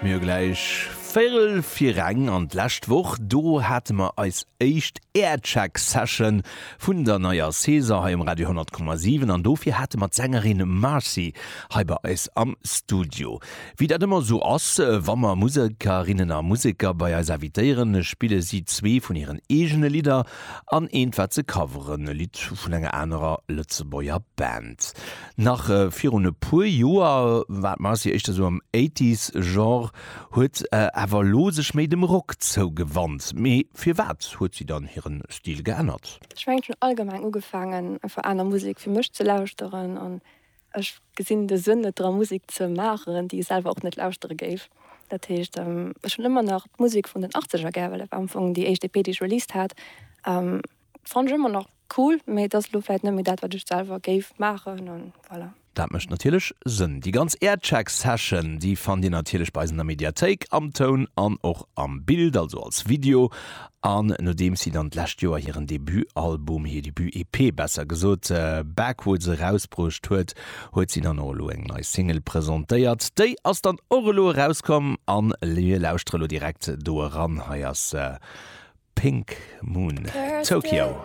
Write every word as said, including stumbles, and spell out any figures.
Mir hu gläich Véierel fir eng an d'lescht Woch do hate mer eis éischt Aircheck Session vun der neier Saison hei um Radio honnert Komma siwen an dofir hate mer d'Sängerin Marcy hei bei eis am Studio. Wéi dat ëmmer esou ass, wa mer Musekerinnen a Museker bei eis invitéieren, spille si zwee vun hiren eegene Lidder an eent wat se coveren, e Lidd vun enger anerer Lëtzebuerger Band. Nach virun e puer Joer war d'Marcy éischter esou am Eighties Genre, huet awer elo sech méi dem Rock zougewannt. Mee firwat huet si dann hiren Stil geännert? Ech mengen ech hunn allgemeng ugefaangen einfach aner Musek fir mech ze lauschteren an ech gesinn de Sënn net dra Musek ze maachen déi ech selwer och net lauschtere géif. Dat heescht ech hunn ëmmer nach d'Musek vun den Achtzeger gär, well dat war am Fong déi éischt E P déi ech released hat. Fannen ech ëmmer nach cool, mee et ass elo vläit net méi dat wat ech selwer géif maachen an voilà. Dat mécht natierlech Sënn. Déi ganz Aircheck Session, déi fannt Dir natierlech bei eis an der Mediathéik, am Toun an och am Bild, also als Video. An nodeems si dann d'lescht Joer hiren Debutalbum, hir Debut-E P besser gesot, Backwoods erausbruecht huet, huet si dann och elo eng nei Single presentéiert. Déi ass dann och elo erauskomm a mir lauschtere elo direkt do eran. Hei ass Pink Moon, Tokyo.